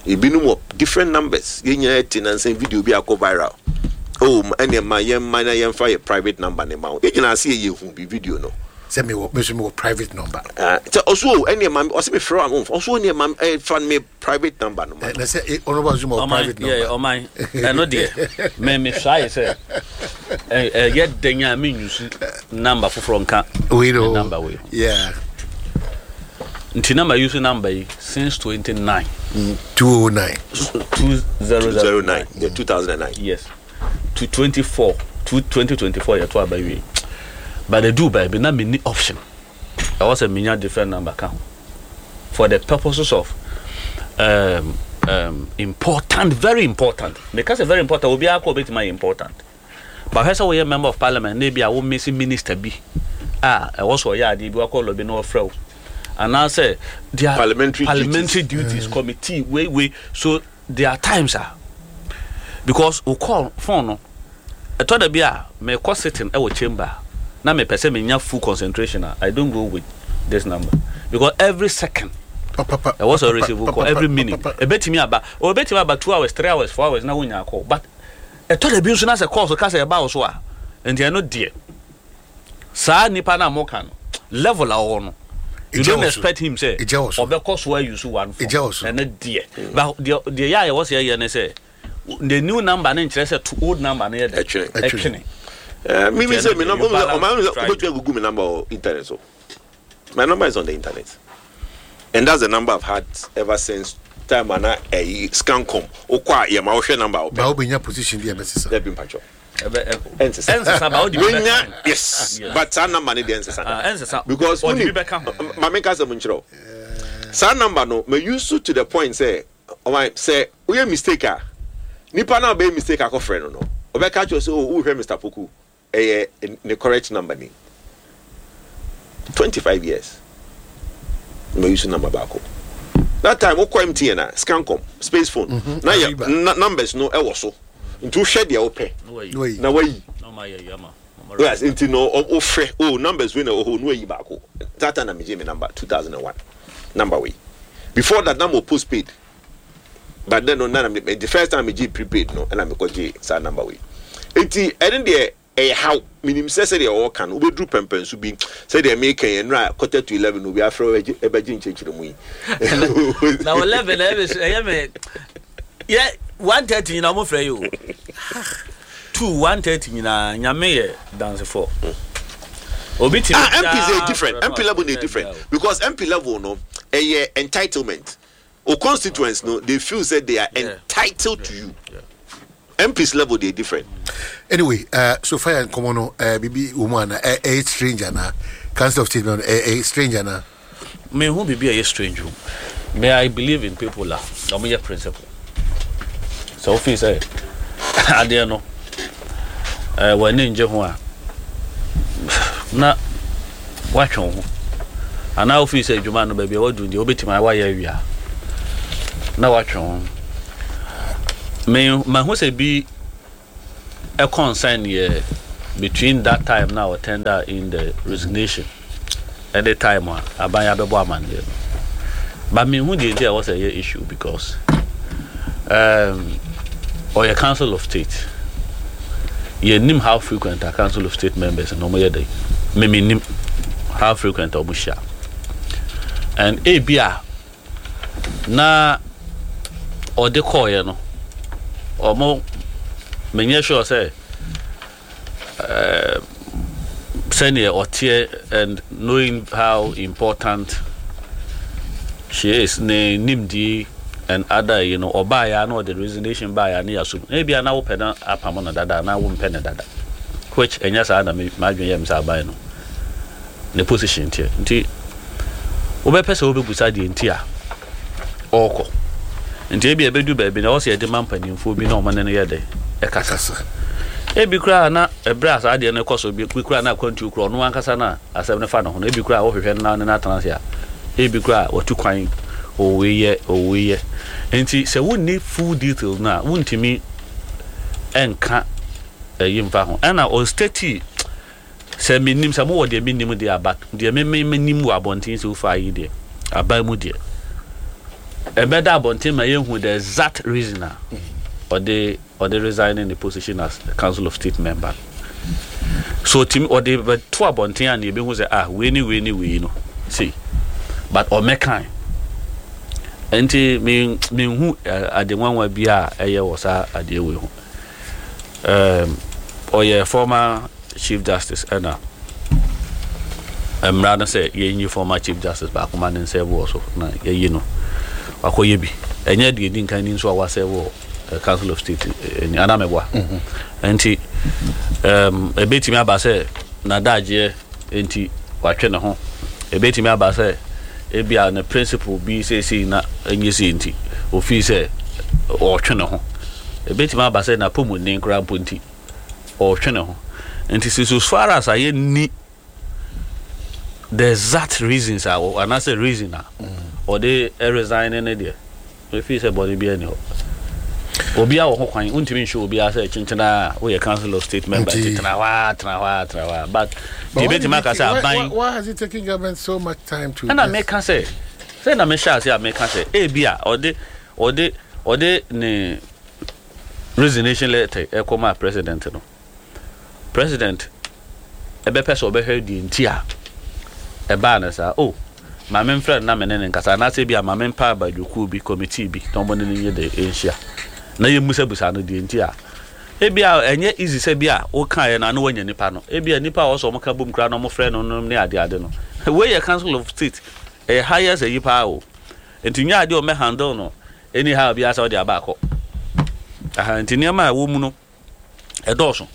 Ebinom wɔ different numbers. Yɛn nyinaa te nansan video bi akɔ viral. Oh, ɛnna ma yɛn ma na yɛn fa yɛ private number ne ma wo. Yɛn nyinaa se yɛ hu bi video no. Sɛ mewɔ, me nso mewɔ private number. Ah, sɛ ɔso o, ɛnna ma ɔsɛ mi frɛ wa mo ɔso ɛnna ma ɛ fa mi private number no ma. Eh, na sɛ eh, honorable Azuma wɔ ɔman private yɛ number. Ɔman ɛno deɛ mɛ mehwɛ ayɛ sɛ ɛ- ɛyɛ den a menyusu number foforɔ nka wei no me number wei. Yeah nti na ma use number yi since twenty-nine. two oh nine. two thousand nine. Zero nine, yeah, two thousand and nine. Yes, to twenty-four to twenty twenty-four yɛto aba wie, but ɛduu baabi na menni option, ɛwɔ sɛ menya different number ka ho for the purposes of um, um, important, very important. Meka sɛ very important, obiara kɔ obɛtumi ayɛ important, but hwɛ sɛ woyɛ member of parliament na ebi a wo mesi minister bi a ɛwɔ sɛ ɔyɛ adeɛ bi wakɔ lobby na ɔfrɛ wo anaasɛ their parliamentary parliamentary duties, mm. committee wei wei. So there are times a because wo call phone no ɛtɔ da bi a mekɔ sitting ɛwɔ chamber na mepɛ sɛ menya full concentration a, I don't go with this number because every second ɛwɔ sɛ receive call, every minute ɛbɛtumi aba, ɔbɛtumi aba two hours, three hours, four hours na wonya call. But ɛtɔ da bi nso na sɛ call so ka sɛ ɛba wo so a, nti ɛno deɛ saa nipa na moka no level a ɔwɔ no, you don't expect him sɛ ɔbɛkɔ so ayi so one phone. Ɛno deɛ, but deɛ deɛ yɛ a yɛwɔ sɛ yɛyɛ ne sɛ the new number ne nkyerɛ sɛ to old number ne yɛ dɛ ɛtwene. Ɛtwene. Mimi sɛ mi number ɔmaa mi sɛ wobɛtumi agugu mi number wɔ internet, so my number is on the internet and that's the number I've had ever since time ana ɛyi Scancom okɔ a yɛ ma wohwɛ number a ba wopɛ. Wobɛnya position bi a ɛbɛsesa. Dɛbi, mpatwɔ, ɛnsesa. Ɛnsesa ba wode bi bɛka Wenya ho. Yes. Yes. But saa number ne deɛ ɛnsesa da. Ah, ɛnsesa. Because ɔde wonim bi bɛka ho. Maame nka sɛ mo nkyerɛ o, saa number no ma use to the point sɛ ɔman sɛ woyɛ mistake a, nipa naa bɛyɛ mistake akɔfrɛ no no ɔbɛka kyerɛ sɛ o wohwɛ Mister Poku, ɛyɛ ne correct number ni. Twenty five years ma use number baako. That time wokɔ M T N a Scancom space phone na yɛ Arriba. na numbers no ɛwɔ so nti wohwɛ deɛ wopɛ Na wayi. Na wayi. Na wayi. Na ɔma yɛ yi ama. Yes, nti no ɔ- wofrɛ o numbers wei na ɛwɔ hɔ no wayi baako. That time na megye me number two thousand and one number wei. Before that na mo postpaid, but then no na na me the first time megye prepaid no ɛna mekɔgye saa number wei. Nti ɛne deɛ ɛyɛ haw menim sɛ sɛdeɛ ɔwɔ no wobɛduru pɛmpɛnso bi sɛdeɛ meka yɛ nnora quarter to eleven obi afrɛ wo ɛbɛgye nkyɛnkyerɛ mu yi. Na wɔ eleven na ɛbɛ ɛyɛ me yɛ one thirty nyinaa ɔmo frɛ yi o, two one thirty nyinaa. Nyame yɛ dansefo obi ti. Ah, M P is different. M P level is different because M P level no Ɛyɛ entitlement o. Constituents no, they feel say they are Yeah. entitled to you. M Ps level, they different. Anyway, uh, so far nkɔmɔ no, uh, bibi wɔ mu ana ɛyɛ strange ana Council of State no ɛyɛ strange ana? Mehu biribi a ɛyɛ strange o. May I believe in people a ɔmo yɛ principle. Sɛ wofii sɛ adeɛ no ɛɛ w'ani ngye ho a, na woatwe wo ho, anaa wofii sɛ adwuma no baabi a wadu deɛ, wobɛtumi a woayɛ awia na woatwe wo ho. Me mahu sɛ bi ɛ concern yɛ between that time na tender in the resignation ɛne time a aban abɛbɔ amanneɛ no, but mehu deɛ nti a ɛwɔ sɛ ɛyɛ issue, because um, ɔyɛ Council of State. Yɛnim how frequent a Council of State members na ɔmoyɛ dɛ. Memenim how frequent a ɔmo hyia, and ebi a na ɔde kɔɔyɛ no, ɔmo menyɛ sure sɛ ɛɛ sɛneɛ ɔteɛ, and knowing how important she is, ne nimdie and other you know ɔbaayɛ a na ɔde resignation baayɛ a ne yɛasom. Ebi a na wopɛ na apam no dada na wompɛ ne dada, which ɛnyɛ saa na me m'adwene yɛ me sɛ aban no ne position teɛ. Nti wobɛpɛ sɛ wobɛbusa deɛ nti a ɔrekɔ. Nti ebi a ɛbɛdu baabi na ɔsɛ yɛde ma mpanimfoɔ bi na ɔmo ne no yɛ dɛ ɛkasa. Ebi koraa na ɛbrɛ a saa adeɛ no kɔ so bi koraa na akwantuo koraa, ɔno ankasa na asɛm no fa ne ho no, ebi koraa wɔhwehwɛ no na ne no atena ase a, ebi koraa watu kwan, ɔwɔ yɛ ɔwɔ yɛ. Nti sɛ wonni full details no a, wontumi ɛnka ɛyi mfa ho. Ɛna ɔstate sɛ menim sɛ mowɔ deɛ menim deɛ aba deɛ meme menim wɔ abɔnten sɛ wofa yi deɛ aban mu deɛ ɛbɛda abɔnten ma yɛhu the exact reason a ɔde ɔde resign in the position as Council of State member. So timi ɔde bɛto abɔnten a, ne yɛbɛhu sɛ, ah, wei ne wei ne wei no see, but ɔmɛkan. Nti me menhu ade nwanwa bi a ɛyɛ wɔ saa adeɛ wei ho. um, ɔyɛ former Chief Justice, ɛna mmara no sɛ yɛnyi former Chief Justice baako ma ne nsa wɔ so na yɛyi no wakɔyɛ bi. Ɛnyɛ deɛ di nkan ni nso a wasɛ wɔ Council of State ni anaa mɛboa. Nti um, ɛbɛtumi aba sɛ n'adagyeɛ nti watwe ne ho. Ɛbɛtumi aba sɛ ebia ne principle bi seesei na ɛnyɛ sei nti ofii sɛ ɔretwe ne ho. Ɛbɛtumi aba sɛ n'apɔmuden koraa mpo nti ɔretwe ne ho. Nti sɛ so far as ayɛ ni the exact reasons a anaasɛ reason a ɔde resign ne deɛ, efi sɛ bɔne bi ani hɔ. Obiara wɔ ho kwan, wontumi nhyɛ obiara sɛ kyenkyena a woyɛ Council of State member nti tena hɔ a, tena hɔ a, tena hɔ a, but deɛ ebɛtumi aka sɛ aban Why has it taken government so much time to ɛna meka sɛ sɛ na mehyɛ ase a, meka sɛ ebi a ɔde ɔde ɔde ne resignation letter ɛkɔma president no, president ɛbɛpɛ sɛ ɔbɛhwɛ deɛ nti a ɛbaa no saa. O maame mfrɛ no na me ne ne nkasa, anaasɛ bi a maame mpa abadwokuo bi, committee bi, na ɔmo ne ne nyɛ de nhyia na yɛmmusabusa no deɛ nti a ebi a ɛnyɛ easy sɛ bi a wokaeɛ no ano wanya nipa no. Ebi a nipa a ɔsɔ ɔmo ka bom koraa na ɔmo frɛ no no ne ade ade no. Wei yɛ Council of State, ɛyɛ highest ayi paa o. Nti nyɛ adeɛ a ɔmɛ handle no anyhow bi asɛ ɔde aba akɔ aha. Nti nneɛma a ɛwɔ mu no ɛdɔɔso.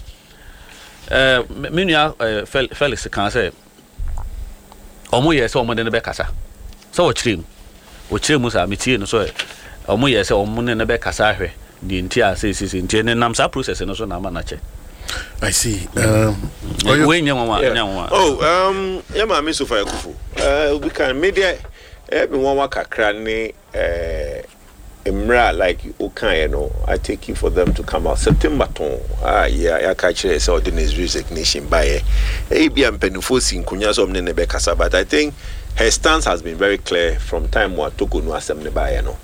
ɛɛ me nua ɛɛ Felix kan sɛ ɔmo yɛ sɛ ɔmo de no bɛkasa sɛ ɔkyerɛ mu ɔkyerɛ mu saa. Metie no sɛ ɔmo yɛ sɛ ɔmo ne no bɛkasa ahwɛ deɛ nti a sɛ nti ɛne nam saa process no so na ama n'akyɛ. I see. Um, wei nyɛ nwanwa, nyɛ nwanwa. Oh, um, yɛ maame Sophia Akuffo. Uh, obi kan me deɛ, ɛyɛ me nwanwa kakra ne uh, mmerɛ a like wokaeɛ no, I take you for them to come out September tɔn a yɛaka kyerɛ sɛ ɔde ne resignation baeɛ. Ɛyɛ bi a mpanimfoɔ si nkonnwa sɛ ɔmo ne ne bɛkasa, but I think her stance has been very clear from time wa Torkornoo asɛm ne baeɛ no.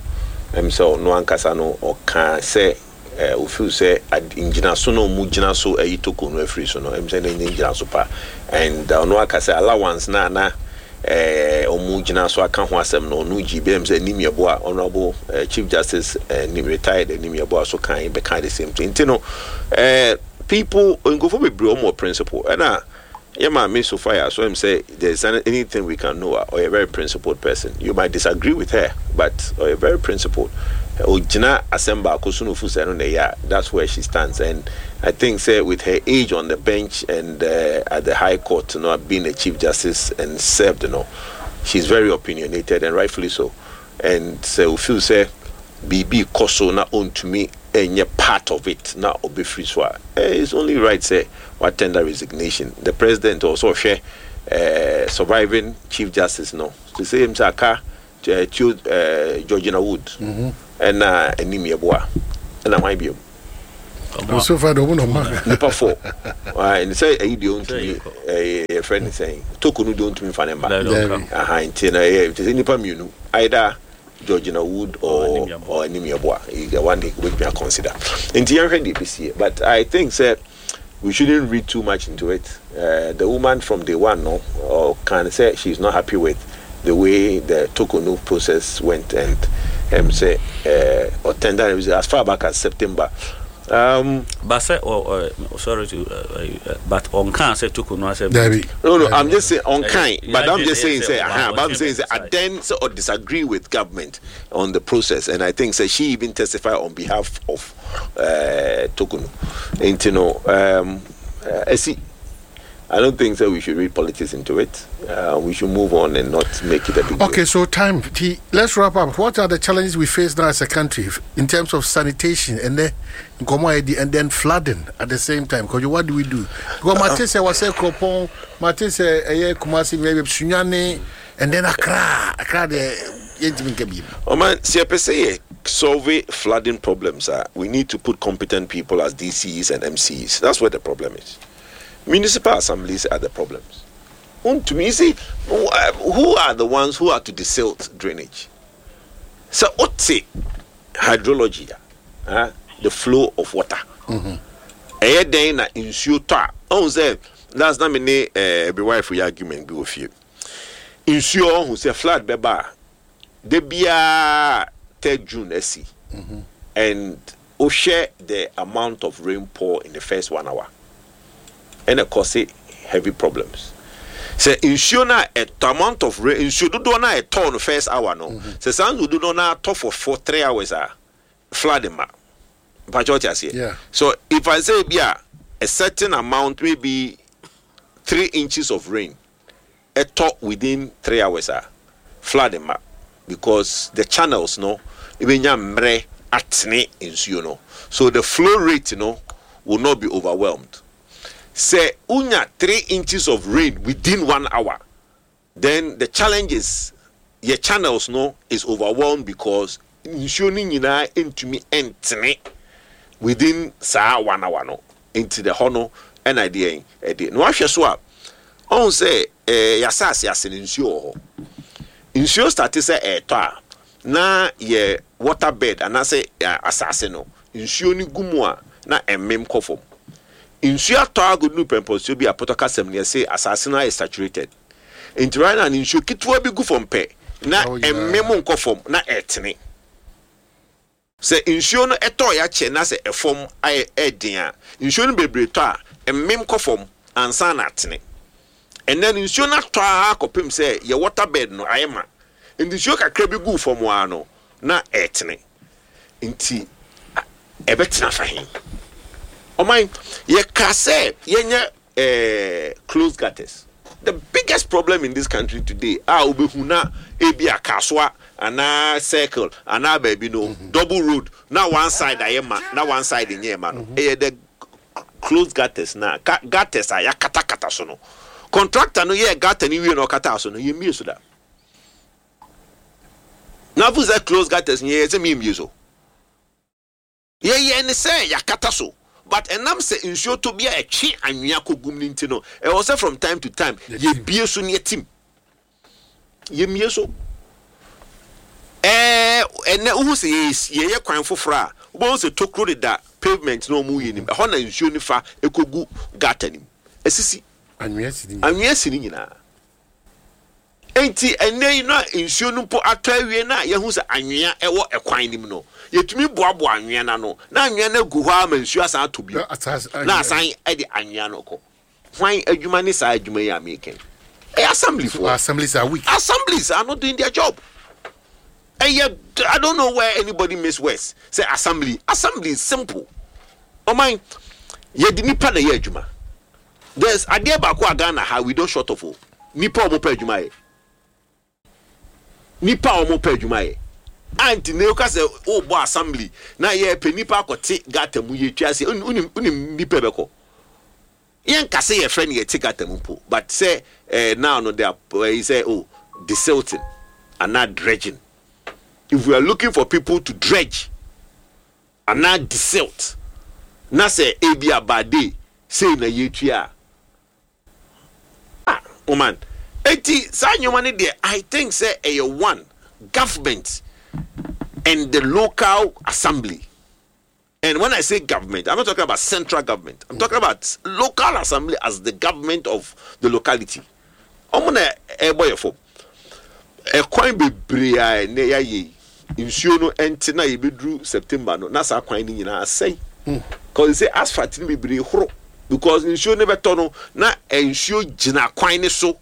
Ɛm sɛ ɔno ankasa no ɔka sɛ ɛɛ ofeel sɛ ngyinaso na ɔmo gyina so ɛyi Torkornoo afiri so no, ɛm sɛ ne gyina pa, and ɔno aka sɛ allowance na ana ɛɛ ɔmo gyina so aka ho asɛm no, ɔno gyi bɛm sɛ Anin Yeboah, Honourable uh, Chief Justice uh, retired Anin Yeboah so kan bɛka the same thing. Nti no ɛɛ people, nkurɔfoɔ bebree, ɔmo wɔ principle. Ɛna Yeah, maame Sophia, so I'm say there's anything we can know, or a very principled person. You might disagree with her, but or a very principled. Ogyina asɛm baako so no fu sɛ no na ɛyɛ a, that's where she stands. And I think say with her age on the bench and uh, at the High Court, you know, being a Chief Justice and served, you know, she's very opinionated and rightfully so. And so feel say biribi kɔ so na ɔntumi ɛnyɛ part of it na ɔbɛfiri so a, eh, it's only right sɛ watender resignation. The president also hwɛ uh, surviving Chief Justice no to say him sɛ aka uh, Theo, uh, Georgina Wood ɛna Anim Yeboah ɛna hwan biom? So far de ɔmo na ɔma. Nipa four ɛne sɛ ɛyi deɛ ɔntumi ɛyɛ yɛfrɛ ne sɛn, Torkornoo deɛ ɔntumi fa ne mba. Dabi. Aha, nti na ɛyɛ nti sɛ nipa mmienu, either Georgina Wood or Anim Yeboah. Or Anim Yeboah, the one they wobɛtumi consider. Nti yɛnhwɛ deɛ ɛbɛsie, but I think sɛ we shouldn't read too much into it. uh, the woman from day one no or can say she's not happy with the way the Torkornoo process went and um, say uh, or tender as far back as September. um, But sɛ ɔ ɔ sorry to uh, uh, but ɔnka sɛ Torkornoo asɛm. Dabi. No, no, I'm just saying unkind, Yeah, but I'm yeah, just saying yeah, say, yeah, uh-huh, but I'm saying say, I side. then sort of disagree with government on the process, and I think say she even testified on behalf of uh, Torkornoo. And you know, um, uh, I see. I don't think that we should read politics into it. Uh, we should move on and not make it a big deal. Okay, so time. T, let's wrap up. What are the challenges we face now as a country in terms of sanitation and then and then flooding at the same time? Because what do we do? Because mate sɛ was Akropong, mate sɛ eh Kumasi, maybe Sunyani, and then Accra. Accra the yɛntumi nka bi. Oh man, see, per se, solve flooding problems. Uh, we need to put competent people as D C Es and M C Es. That's where the problem is. Municipal assemblies are the problems. To me, you see, who are the ones who are to desilt drainage? So, what's it? Hydrology, uh, the flow of water. Ɛyɛ dɛn na nsuo tɔ a ɔhun sɛ last na me ne ɛɛ ɛbi wife yɛ argument bi wɔ fie, nsuo ɔhun sɛ flood bɛba a de biara third June ɛsi and wohwɛ the amount of rainfall in the first one hour ɛna cause heavy problems sɛ nsuo no a ɛtɔ, amount of rain, nsuo dodoɔ no a ɛtɔ no first hour no, sɛ saa nsuo dodoɔ no atɔ for four three hours a, flood ma mpakyɛ ɔte aseɛ. Yeah. So if I say bi a a certain amount, maybe three inches of rain ɛtɔ within three hours a, flood ma because the channels no ebenya mmerɛ atene nsuo no, so the flow rate no will not be overwhelmed. Sɛ unya three inches of rain within one hour, then the challenge is your channels no is overwhelmed because nsuo no nyinaa ntumi ntene within saa one hour no. Nti the hɔ no ɛna ɛdeɛ ɛdeɛ na wahwɛ so a ɔhun sɛ ɛɛ yasa ase no nsuo wɔ hɔ, nsuo start sɛ ɛɛtɔ a na yɛ water bed anaasɛ ɛ, asase no nsuo no gu mu a na ɛmem kɔ fam. Nsuo atɔ agodu pɛmpɔnsuo bi a pɔtɔ kasɛm no yɛsɛ asase no ayɛ saturated, nti right now ne nsuo ketewa bi gu fam pɛ na Oh, yeah. ɛmem nkɔ fam na ɛtene. Sɛ nsuo no ɛtɔ yɛ akyɛ na sɛ ɛfam ayɛ ɛden a, nsuo no bebree tɔ a ɛmem kɔ fam ansa na atene. Ɛnɛ no nsuo no atɔ a akɔpem sɛ yɛ water bed no ayɛ ma, nti nsuo kakra bi gu fam a no na ɛtene, nti a- ɛbɛtena fa he? Ɔman yɛka sɛ yɛnyɛ ɛɛ closed gutters. The biggest problem in this country today a wobɛhu na ebi akasoa anaa Circle anaa baabi no, double road na one side ayɛ ma na one side nyɛ ma no, ɛyɛ the closed gutters na ga gutters a yɛakatakata so no. Contractor no yɛ gutter no wie na ɔkata so no, yɛmmie so da na afo sɛ closed gutters nyɛ yɛ sɛ miemmie so. Yɛyɛ ne sɛ yɛakata so, but ɛnam sɛ nsuo tɔ bi a ɛtwe anwea kɔgum no nti no, ɛwɔ sɛ from time to time yɛbie so ne yɛtim yɛmmie so. Ɛɛ ɛnɛ wohu sɛ yɛyɛ yɛyɛ kwan foforɔ a, wobɛhu sɛ tokuro deda pavement na ɔmo yɛ nim ɛhɔ na nsuo no fa ɛkɔgu gutter nim ɛsisi. Anwea si ni. Anwea si ne nyinaa, nti ɛnɛ yi na nsuo no mpo atɔ awie na yɛhu sɛ anwea ɛwɔ ɛkwan nim no, yɛtumi boaboa anwea no ano na anwea no agu hɔ ama nsuo asan atɔ bio Na asase- na asan ɛde anwea no kɔ. Hwan adwuma ne saa adwuma yi a meka? Ɛyɛ assembly So foɔ. assemblies are weak. Assemblies are not doing their job. Ɛyɛ, I don't know where anybody miss words sɛ assembly. Assembly is simple. Ɔman yɛde nipa na ɛyɛ adwuma. There's adeɛ baako a Ghana ha we don short of o, nipa a wɔn pɛ adwuma yɛ, nipa a wɔn pɛ adwuma yɛ. Anti na ɔka sɛ ɔrebɔ assembly na yɛ pɛ nipa akɔte gutter mu, yɛ twa ase unim unim nipa bɛkɔ. Yɛn kase yɛ fɛ no yɛ te gutter mu mpo, but sɛ ɛɛ now no they are ɛyi sɛ, oh, desilting ana dredging. If we are looking for people to dredge ana desilt na sɛ ebi abade sei na yɛtua a, ah, woman, eti saa nneɛma no deɛ, I think sɛ ɛyɛ one government and the local assembly. And when I say government, I'm not talking about central government, I'm talking about local assembly as the government of the locality. Ɔmo na ɛbɔ yɛ fam. Ɛkwan bebree a ɛnɛ yɛayɛ yi, nsuo no ɛnte na yɛbɛduru September no na saa kwan no nyinaa asɛe, cause sɛ asphalt no bebree horo because nsuo no bɛtɔ no na nsuo gyina kwan no so.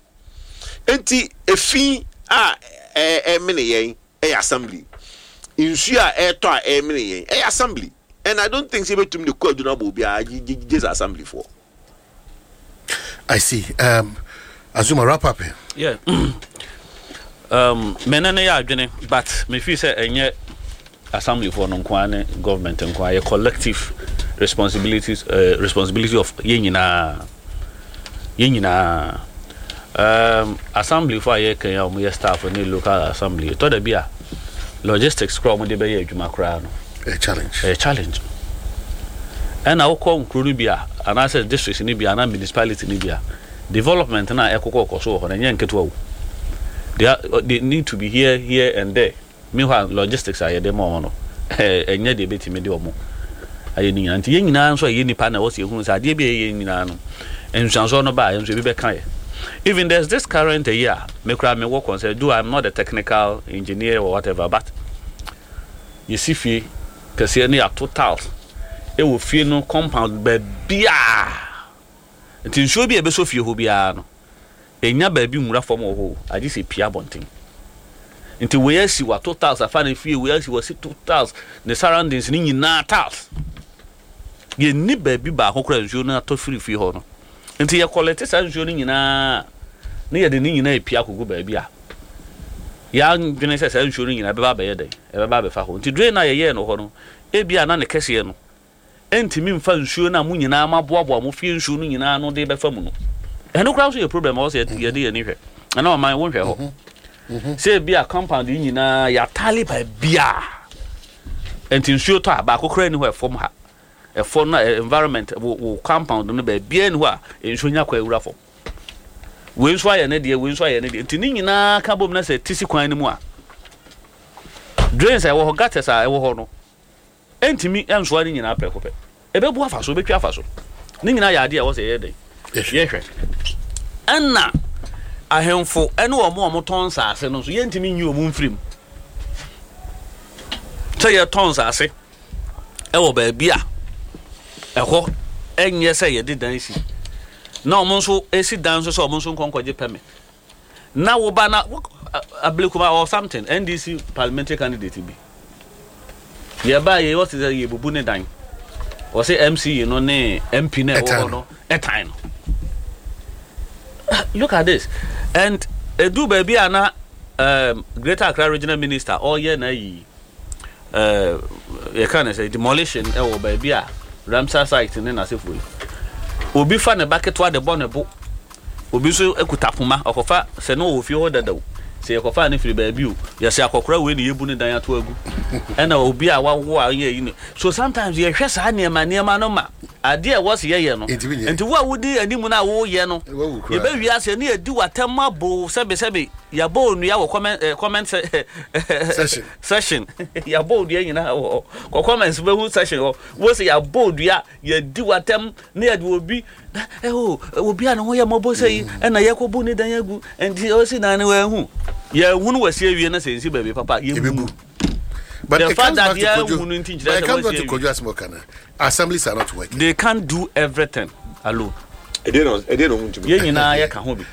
Nti efi a ɛɛ ɛmene yɛn ɛyɛ assembly, nsuo a ɛɛtɔ a ɛmene yɛn ɛyɛ assembly, and I don't think sɛ ebɛtumi de kɔ adwuma bɔ obiara gye gye gye sɛ assembly foɔ. I see. Um, Azuma, wrap up here. Yeah. um, mene ne yɛ adwene, but mefii sɛ ɛnyɛ assemblyfoɔ no nko ara ne government nko ara, yɛ collective responsibilities, uh, responsibility of yɛn nyinaa, yɛn nyinaa. um, assemblyfoɔ a yɛka yi a wɔyɛ staff ne local assembly, ɛtɔ da bi a logistics koraa a wɔde bɛyɛ adwuma koraa no A challenge. Ɛyɛ challenge. Ɛna wokɔ nkuro no bi a, anaasɛ district no bi a, anaa municipality no bi a, development no a ɛkokɔ kɔ so wɔ hɔ no ɛnyɛ nketewa o. they, are, they need to be here, here and there. Meanwhile, logistics a yɛde ma wɔn no ɛnyɛ deɛ ɛbɛtumi de wɔn ayɛ ne nyinaa. Nti yɛn nyinaa nso a yɛyɛ nipa na ɛwɔ sɛ yɛhunu sɛ adeɛ bi a yɛyɛ nyinaa no, nsuansoɔ no ba a, yɛn nso ebi bɛka yɛ. Even there's this current ayi a me koraa mewɔ concern, though I'm not a technical engineer or whatever, but yɛsi fie kɛseɛ ne yɛato tiles ɛwɔ fie no compound baabiaa, nti nsuo bi a ɛbɛsɔ fie hɔ biara no ɛnya baabi nwura fam wɔ hɔ o, agye sɛ pia abɔnten. Nti wei asi wato tiles afa ne fie, wei asi wasi to tiles ne surroundings ne nyinaa tiles. Yɛnni baabi baako koraa nsuo no atɔ firi fie hɔ no. Nti yɛkɔlɛte saa nsuo no nyinaa ne yɛde ne nyinaa epia akɔgu baabi a yɛadwene sɛ saa nsuo no nyinaa ɛbɛba abɛyɛ dɛn, ɛbɛba abɛfa hɔ. Nti drain a yɛyɛɛ no hɔ no, ebi a na ne kɛseɛ no ɛntumi mfa nsuo no a mo nyinaa moaboaboa mo fie nsuo no nyinaa no de bɛfa mu no. Ɛno koraa nso yɛ problem a ɛwɔ sɛ yɛde yɛn ani hwɛ. Ɛna ɔman wonhwɛ hɔ sɛ ebi a compound yi nyinaa yɛatale baabiaa, nti nsuo tɔ a baako koraa ni hɔ ɛfam ha, ɛfɔ no environment wo wo compound no baabiaa ni hɔ a nsuo nya kɔ awura fam. Wei nso ayɛ ne deɛ, wei nso ayɛ ne deɛ, nti ne nyinaa ka bom na sɛ ti si kwan no mu a, drains a ɛwɔ hɔ, gutters a ɛwɔ hɔ no ɛntumi ɛnsoa ne nyinaa prɛko pɛ. Ɛbɛbu afa so, ɛbɛtwa afa so. Ne nyinaa yɛ adeɛ a ɛwɔ sɛ yɛyɛ dɛn, yɛhwɛ. Ɛna ahemfo ɛne wɔn a wɔtɔn nsaase no nso, yɛntumi nyi wɔn mfirim sɛ yɛtɔn nsaase ɛwɔ baabi a ɛhɔ ɛnyɛ sɛ yɛde dan si, na wɔn nso esi dan nso sɛ wɔn nso nkɔ nkɔgye permit na woba na Ablekuma or something. N D C parliamentary candidate bi yɛba yɛ wɔsi sɛ yɛbubu ne dan, wɔsi M C E no ne M P na ɛwɔ hɔ no ɛtan no. Look at this. And edu baabi a na um, Greater Accra Regional Minister ɔyɛ na yi uh, yɛka ne sɛ demolition ɛwɔ baabi a Ramsar site ne n'asefo yi, obi fa ne ba ketewa de bɔ ne bo, obi nso kuta poma ɔkɔfa sɛ ne ɔwɔ fie hɔ dada o, sɛ yɛkɔfa ne firi baabi o, yɛsɛ akɔkora wei ne yɛbu ne dan ato agu, ɛna obi a wawo a ɔyɛ yi no. So sometimes yɛhwɛ saa nneɛma nneɛma no ma adeɛ a ɛwɔ sɛ yɛyɛ no. Nti wo a wodi anim no a woyɛ no, yɛbɛwie ase ne yɛdi w'atɛm abo sɛbesɛbe, yɛabɔ onua wɔ comment eh, comment session session yɛabɔ onua nyinaa wɔ kɔ comments bɛhu session hɔ wo sɛ yɛabɔ onua, yɛdi w'atɛm ne yɛde obi ɛho obi a ne ho yɛ mmɔbɔ sɛ yi ɛna yɛkɔbu ne dan agu. Nti ɔsi dan no wɔahu yɛhu no wɔasi awie na sɛ nsi baabi papa yɛbu. But the it fact comes that back to yeah, Kojo. wouldn't But it comes back to teach Kojo Asmokana. Assemblies are not working. They can't do everything alone. Ɛdeɛ na ɛdeɛ na ɔmo ntumi. Yɛn nyinaa yɛka ho bi.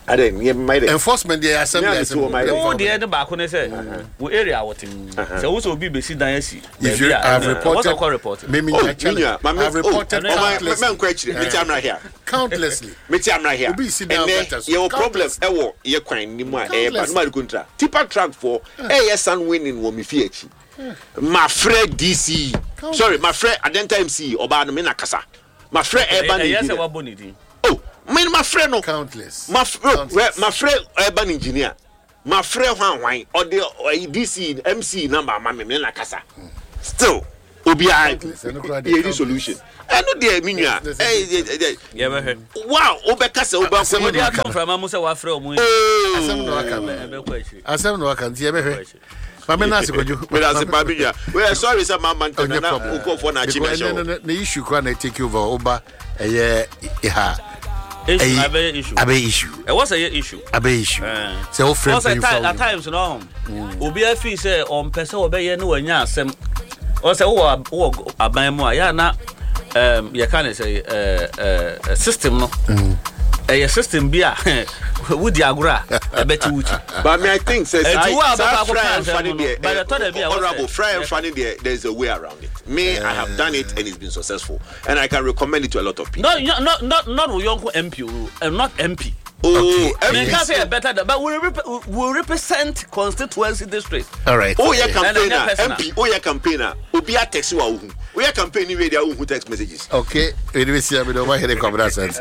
Adɛ yɛ mma yɛ. Enforcement deɛ, asɛm Me a deɛ me asɛm ti wɔ my- Wo deɛ ne baako ne sɛ wo area wote, sɛ wo sɛ obi bɛsi dan asi If you baabi a, have ɛwɔ reported, sɛ wokɔ report. Me me Oh, nya challenge. minya, maame, I've reported oh, ɔma countlessly. mɛ nkɔ akyire, meti amra here. Countlessly. Meti amra here. Obi si down Ɛnɛ gutters. yɛwɔ problem Countless. ɛwɔ yɛ kwan ni mu a ɛyɛ ba Countless. no ma de kontra tipper truck for ɛyɛ sand winning wɔ mi fie akyi. Mafrɛ D C, sorry, mafrɛ Adenta M C, ɔbaa no, me na kasa, mafrɛ urban Ɛyɛ sɛ engineer. wabɔ ne din. Oh, me mafrɛ no. Countless. Mafrɛ Countless. mafrɛ urban engineer, mafrɛ hwan hwan, ɔde ɔyi D C M C number ama me, me na kasa, still obiara Countless, ɛno koraa deɛ yɛdi countless. solution. Ɛno deɛ, me nua, Yes, ɛyɛ ɛyɛ Yɛbɛhwɛ. wa wobɛka sɛ wobɛkɔ. Asɛm Wode na ato waka no. mframa mu sɛ wafrɛ ɔmo yi. Asɛm na waka no. Ɛbɛkɔ akyiri. Asɛm na waka nti yɛbɛhwɛ. Maame na ase Kwadwo. Meda ase pa, me nua. Well, sorry sɛ mama ntɛm Ɔnyɛ na problem. nkurɔfoɔ na akyi Because me ahyɛ ɛnɛ wo. no, ne issue koraa na take over woba ɛyɛ ha. Issue. Ɛyi- Abɛyɛ issue. Abɛyɛ issue. Ɛwɔ sɛ yɛ issue. Abɛyɛ issue. Eh. Sɛ wofrɛ Ɔsɛ mpanyinfoɔ ti- a at times no, obi afi sɛ ɔmpɛ sɛ ɔbɛyɛ ne wanya asɛm. Ɔsɛ wowɔ wowɔ aban mu a yɛ na um, yɛka ne sɛ eh, eh, system no, ɛyɛ system bi a wodi agorɔ a ɛbɛte wo ti. But me, I think sɛ Enti wo a saa wobɛkɔ akɔka fry asɛm mfa ne no, deɛ, but ɛtɔ da bi a wɔsɛ- honorable, fry mfa ne deɛ, there is a way around it. Me, I have done it and it's been successful and I can recommend it to a lot of people. No, not not not wo yɔnko M P o, uh, not M P. Oh, Menka M P. sɛ yɛ better than, but we, rep we represent constituency districts. All right. Oh, yeah, campaigner. Ɛna ɛnyɛ personal. M P, oh yeah, campaigner. Obi a text you a wohu. Oh yeah, campaign ni wei deɛ, wohu text messages. Okay. Wede bɛsi a mede ɔma hene kwabena asante.